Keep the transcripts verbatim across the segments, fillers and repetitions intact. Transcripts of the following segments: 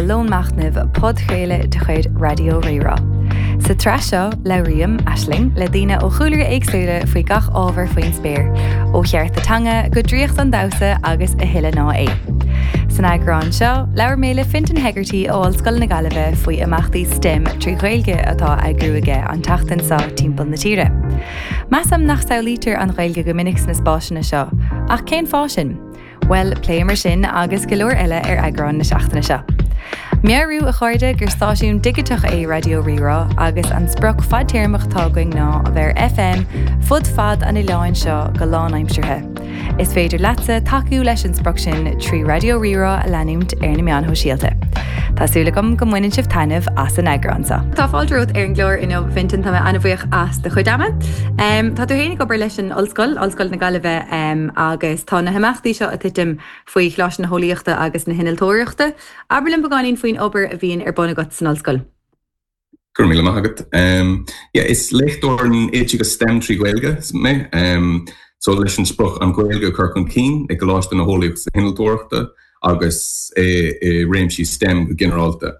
Lón Machnaimh podchraoladh de chuid Raidió Rí-Rá. Sa tsraith seo labhraím Aisling le daoine ó chúlraí éagsúla faoi gach ábhar faoin spéir, ó chearta teanga go draíocht an damhsa agus a thuilleadh ná é. San eagrán seo, labhair mé le Fintan Hegarty ó Ollscoil na Gaillimhe faoi imeachtaí STEM trí Ghaeilge atá á eagrú aige an tseachtain seo timpeall na tíre. Measaim nach samhlaítear an Ghaeilge go minic sna spásanna seo, ach cén fáth sin? Well pléimid sin agus go leor eile ar eagrán na seachtaine seo. Meabhrú a chairde gur stáisiún digiteach é Raidió Rí-Rá agus an sprioc fadtéarmach atá againn ná a bheith ar FM fud fad an oileáin seo go lánaimseartha. Is féidir leatsa tacú leis an sprioc sin trí Raidió Rí-Rá a leanúint ar na meáin shóisialta. Tá súil agam go mbaineann sibh taitneamh as an eagrán seo. Tá fáilte romhat ar an gclár inniu Fintan tá mé an-bhuíoch as do chuid ama. Um, tá tú féin ag obair leis an Ollscoil, Ollscoil na Gaillimhe um, agus tá na himeachtaí seo ag titim faoi Choláiste na hEolaíochta agus na hInnealtóireachta. Abair linn beagáinín faoin obair a bhíonn ar bun agat san ollscoil. Go raibh míle maith agat. Um, yeah, is léachtóir in oideachas STEM trí Ghaeilge mé. Um, so leis an sprioc an Ghaeilge a chur chun cinn i gColáiste na hEolaíochta hInnealtóireachta agus i, i réimsí STEM go ginearálta.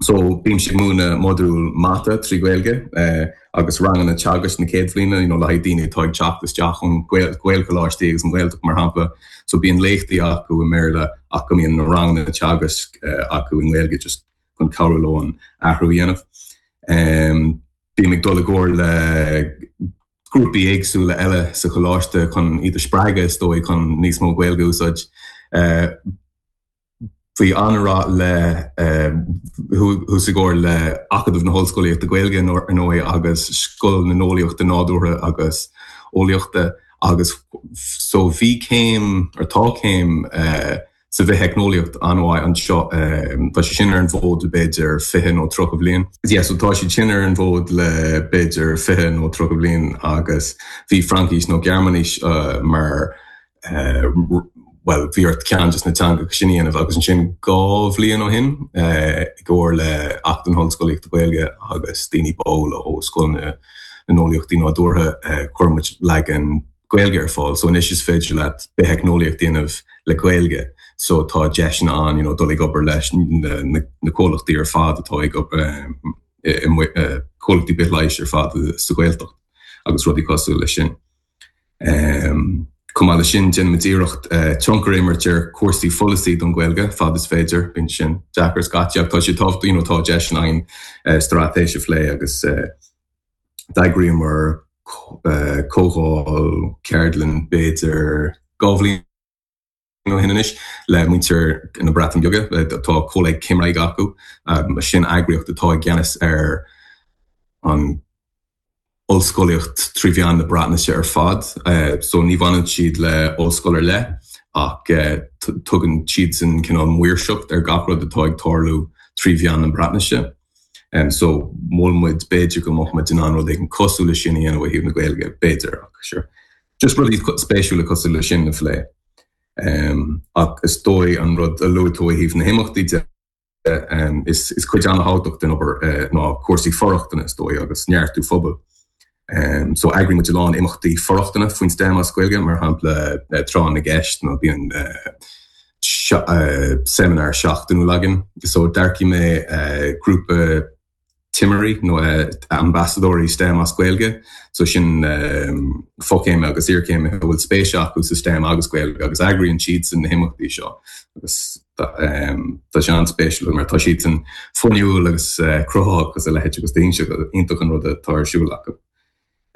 So bím ag múineadh modúl mata trí Ghaeilge eh, agus ranganna teagaisc na céad bhliana you know, le haghaidh daoine atá ag teacht isteach ón Ghaelcholáistí agus an Ghaeltacht mar shampla, so bíonn léachtaí acu i mBéarla ach go mbíonn na ranganna teagaisc eh, acu i nGaeilge just chun cabhrú leo an athrú a dhéanamh. Um, Bím ag dul i gcomhar le grúpaí éagsúla eile sa choláiste chun iad a spreagadh is dóigh chun níos mó Gaeilge a úsáid. Uh, Bhí an-rath le thuas i gcomhar le Acadamh na hOllscolaíochta Gaeilge ar ndóigh agus Scoil na nEolaíochtaí Nádúrtha agus Eolaíochta agus so bhí céim ar tá céim uh, sa bhitheicneolaíocht an-mhaith anseo tá sé sin ar an bhfód b'fhéidir fiche nó tríocha bliain. Yeah, so tá siad sin ar an bhfód le b'fhéidir fiche nó tríocha bliain agus bhí Fraincis nó Gearmáinis uh, mar uh, well bhí ort ceann de na teangacha sin a dhéanamh agus ansin dhá bhliain ó shin uh, i gcomhar le Acadamh na hOllscolaíochta Gaeilge agus daoine ball ó Scoil na nEolaíochtaí Nádúrtha uh, chuir muid leagan Gaeilge ar fáil, so anois is féidir leat bitheicneolaíocht a dhéanamh le Gaeilge. So tá deiseanna ann you know, dul ag obair leis na, na, na comhlachtaí ar fad atá ag um, comhlachtaí bithleighis ar fad sa Ghaeltacht agus rudaí cosúil leis sin. Um, Chomh maith leis sin déanaimid iarracht uh, tionchar a imirt ar cúrsaí pholasaí don Ghaeilge fad is féidir bíonn sin deacair scaití tá sé tábhachtach you know, tá deiseanna ann uh, straitéis a phlé agus uh, d'eagraíomar uh, comhdháil ceardlann b'fhéidir dhá bhliain ó shin anois le muintir na Breataine Bige tá Coleg Cymraeg acu um, sin eagraíocht atá i gceannas ar an ollscolaíocht trí mheán na Breatnaise ar fad, uh, so ní bhaineann siad le ollscoil ar leith ach uh, tugann siad sin cineál maoirseacht ar gach rud atá ag tarlú trí mheán na Breatnaise. Um, so mhol muid b'fhéidir go mbeadh muid in ann rud éigin cosúil leis sin a dhéanamh ó thaobh na Gaeilge b'fhéidir ach sure. Just rudaí spéisiúla cosúil leis sin a phlé. Um, ach is dóigh an rud a luaigh tú ó thaobh na himeachtaí de um, is, is cuid an-tábhachtach den obair uh, ná cúrsaí for-rochtana is dóigh agus neartú phobail. Um, so eagraíonn muid a lán imeachtaí for-rochtana faoin STEM as Gaeilge mar shampla uh, tráth na gceist nó bíonn uh, uh, seimineár seachtainiúil againn. So d'earcaigh mé uh, grúpa timirí nó uh, ambasadóirí STEM as Gaeilge, so sin um, fochéime agus iarchéime a bhfuil spéis acu sa STEM agus Gaeilge agus eagraíonn siad sin na himeachtaí seo agus um, tá sé an-spéisiúil mar tá siad sin fuinniúil agus uh, cruthaitheach agus a leithéid agus iontach an rud atá ar siúl acu.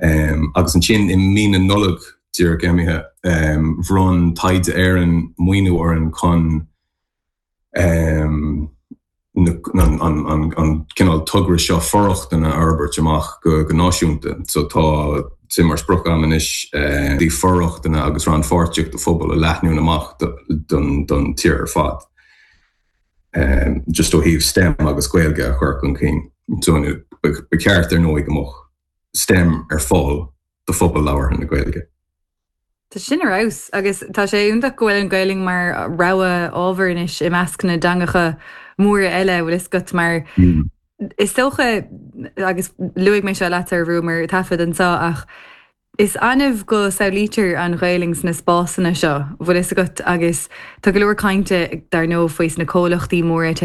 Um, agus ansin i mí na Nollag díreach imithe um, bhronn Taighde Éireann maoiniú orainn chun um, an, an, an, an cineál togra seo for-rochtana a fhorbairt amach go, go náisiúnta. So tá sé mar sprioc agam anois uh, dí for-rochtana agus rannpháirtíocht do phobal a leathnú amach don, don tír ar fad. Um, just ó thaobh STEM agus Gaeilge a chur chun cinn. So, ba cheart ar ndóigh go mbeadh STEM ar fáil do phobal labhartha na Gaeilge. Tá sin ar fheabhas agus tá sé iontach go bhfuil an Ghaeilge mar rogha ábhar anois i measc na dteangacha móra eile bhfuil fhios agat mar mm. is dócha agus luaigh mé seo leat ar bhruúmar taifead anseo ach is annamh go samhlaítear an Ghaeilge sna spásanna seo bhfuil fhios agat agus tá go leor cainte dar ndóigh faoi na comhlachtaí móra